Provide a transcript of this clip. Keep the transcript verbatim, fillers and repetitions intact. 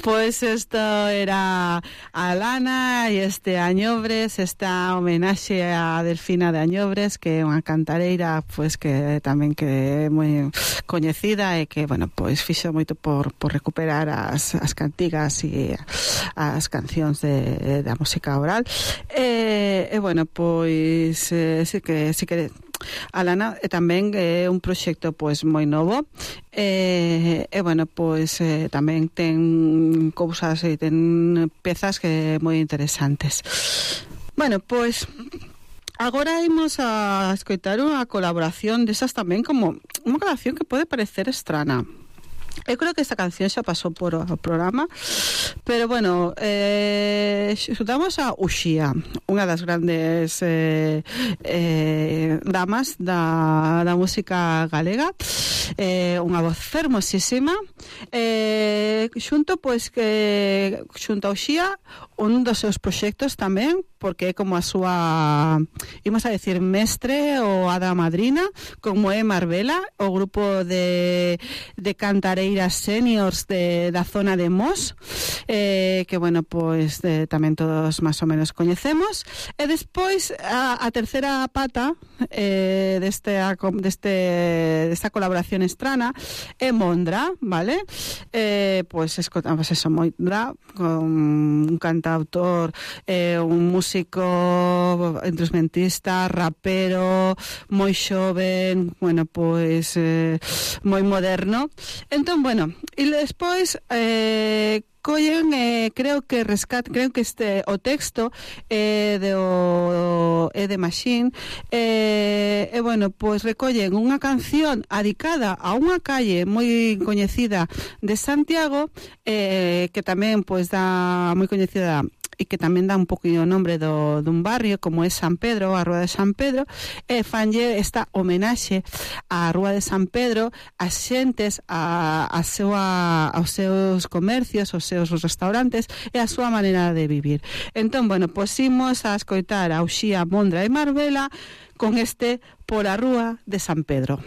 Pues esto era Alana e este Añobres, esta homenaxe a Delfina de Añobres, que é unha cantareira pues que tamén que é moi coñecida e que, bueno, pois fixo moito por, por recuperar as, as cantigas e as cancións de, da música oral. E, e bueno, pois eh, sí que sí que Alana e tamén é un proxecto pois moi novo e, e bueno, pois eh, tamén ten cousas e ten pezas que moi interesantes. Bueno, pois agora imos a escoitar unha colaboración desas tamén, como unha colaboración que pode parecer estrana. Eu creo que esta canción xa pasou por o programa, pero bueno, eh, xutamos a Uxía, unha das grandes eh, eh, damas da, da música galega, eh, unha voz fermosísima, eh, xunto pois que xunto a Uxía un dos seus proxectos tamén, porque é como a súa, imos a decir, mestre ou hada madrina, como é Marbela, o grupo de, de cantareiras seniors de, da zona de Mos, eh, que, bueno, pois de, tamén todos máis ou menos coñecemos. E despois, a, a terceira pata eh, deste, deste, desta colaboración estrana é Mondra, vale? Eh, pois escotamos eso, Mondra, con un cantautor, eh, un músico instrumentista, rapero, moi xoven, bueno, pois eh, moi moderno. Entón, bueno, e despois eh, collen, eh, creo que rescat, creo que este o texto é eh, de o é de Machine, eh, e eh, bueno, pois recollen unha canción adicada a unha calle moi coñecida de Santiago, eh, que tamén pois dá moi coñecida e que tamén dá un poquinho o nombre do, dun barrio como é San Pedro, a Rúa de San Pedro, e fanlle esta homenaxe á Rúa de San Pedro, as xentes, a, a súa, aos seus comercios, aos seus restaurantes e a súa maneira de vivir. Entón, bueno, pois imos a escoitar a Uxía, Mondra e Marbela con este Por a Rúa de San Pedro.